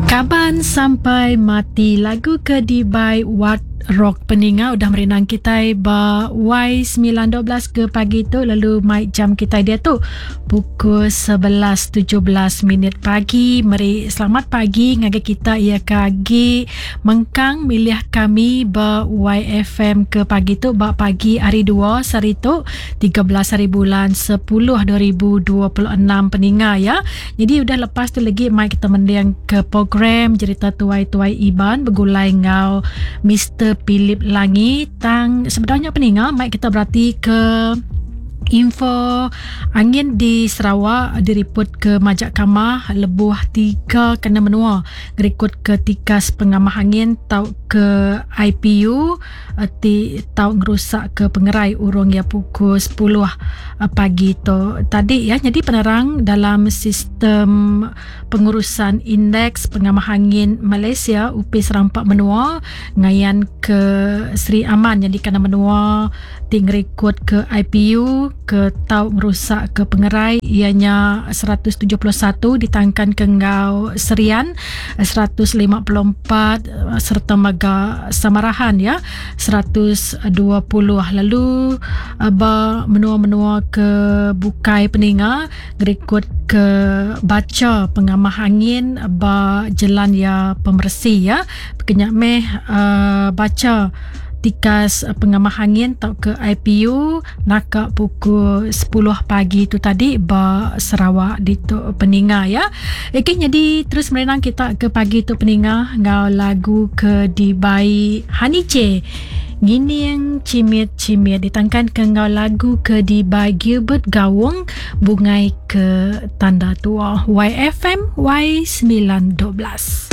Kaban sampai mati lagu ke dibai Wat Rock peninga udah merindang kitai ba Y912 ke pagi tu lalu mai jam kitai diatu pukul 11.17 minit pagi meri selamat pagi ngagai kita iya ke agi mengkang milih kami ba YFM ke pagi tu ba pagi hari 2 sehari tu 13 hari bulan 10 2026 peninga ya. Jadi udah lepas tu lagi mai kita mending ke program jerita tuai-tuai Iban begulai enggau Mister Philip Langi tang sebedau nya peninga mai kita berati ke info angin di Sarawak diriput ke majak kamah lebuh tiga kena menua ngerikut ke tikas pengamah angin tau ke IPU ti tau ngerusak ke pengerai urung iya pukul 10 pagi tu tadi ya. Nyadi penerang dalam sistem pengurusan indeks pengamah angin Malaysia Upis Rampa Menua ngayan ke Sri Aman nyadi kandang menua ti ngerikod ke IPU ke tau ngerusak ke pengerai iya nya 171 ditangkan ke enggau Serian 154 sereta mega Samarahan ya 120 lalu ba menua-menua ke bukai peninga ngerikod ke bacha pengamah angin ba jelan iya pemeresi ya. Pekenya meh bacha tikas pengamah angin tauka IPU naka pukul 10 pagi tu tadi ba Sarawak ditu peninga ya. Okey nyadi terus merenang kita ke pagi tu peninga enggau lagu ke dibai Honey J. Ngining Chimit Chimit ditangkan ke enggau lagu ke dibai Gilbert Gawong Bungai ke Tanda Tua. YFM Y912.